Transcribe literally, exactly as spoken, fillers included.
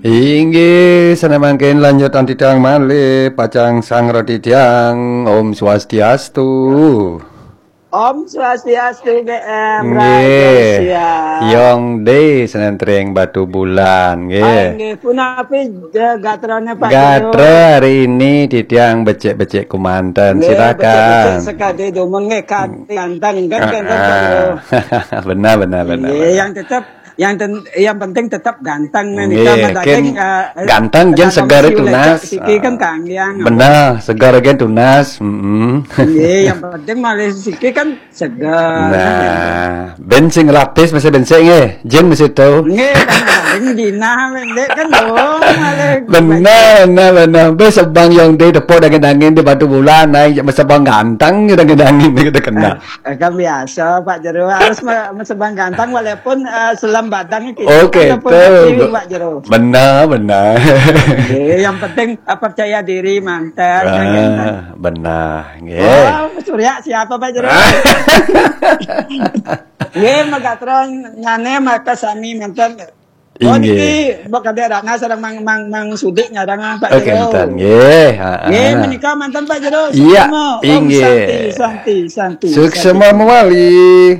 Inggih, sané mangkin lanjut anti tiang malih, pacang sang roti tiang. Om Swastiastu. Om Swastiastu, B M. Nggih. Yong D, Senentring Batu Bulan, nggih. Nggih, punapi, eh, gatrane Pak Gatra Jero? Hari ini titiang becik-becik kumanten. Nggih, Silakan. becik-becik sekadi dumun nggih, kan ganteng, kan ganteng, Pak Jero? Ah, benar, benar, benar, Nggih, benar. Yang tetap, yang ten- yang penting tetap ganteng, nih, Nggih, kita mah kin daging, eh, ganteng, jen kadang segar siu tunas. lecak siki kan kanggiang. Benar, segar gen tunas. Mm-mm. Nggih, yang penting malih siki kan seger. Nah, ben sing lapis masih bencik nggih. Jen masih tahu. Nggih, kan paling jinah mendek kan dong, malih. Benar, benar, benar. Bes sebang Yong D tepuk dangin-dangin di Batu Bulan, naik sebang ganteng, dangin-dangin kita kena. Eh, kan biasa, Pak Jero, harus me- mesebang ganteng walaupun, eh, selam badang kita Oke, kan pun tuh. kaki, Pak Jero. Benar, benar. Nggih, yang penting, eh, percaya diri manten, kan ganteng. Ah, benar, nggih. Oh, Surya siapa, Pak Jero? Nggih, megatron nyane maka sami manten. Oh, Inggih. Niki, Mbok Kadek Ratna sareng Mang, Mang, Mang Sudik nyarang, Pak Oke, Jero. enten, nggih. Ha, Nggih, ha. Menika manten, Pak Jero. Iya, Suksma. Om inggih. Santi, Santi, Santi. Suksma mawali.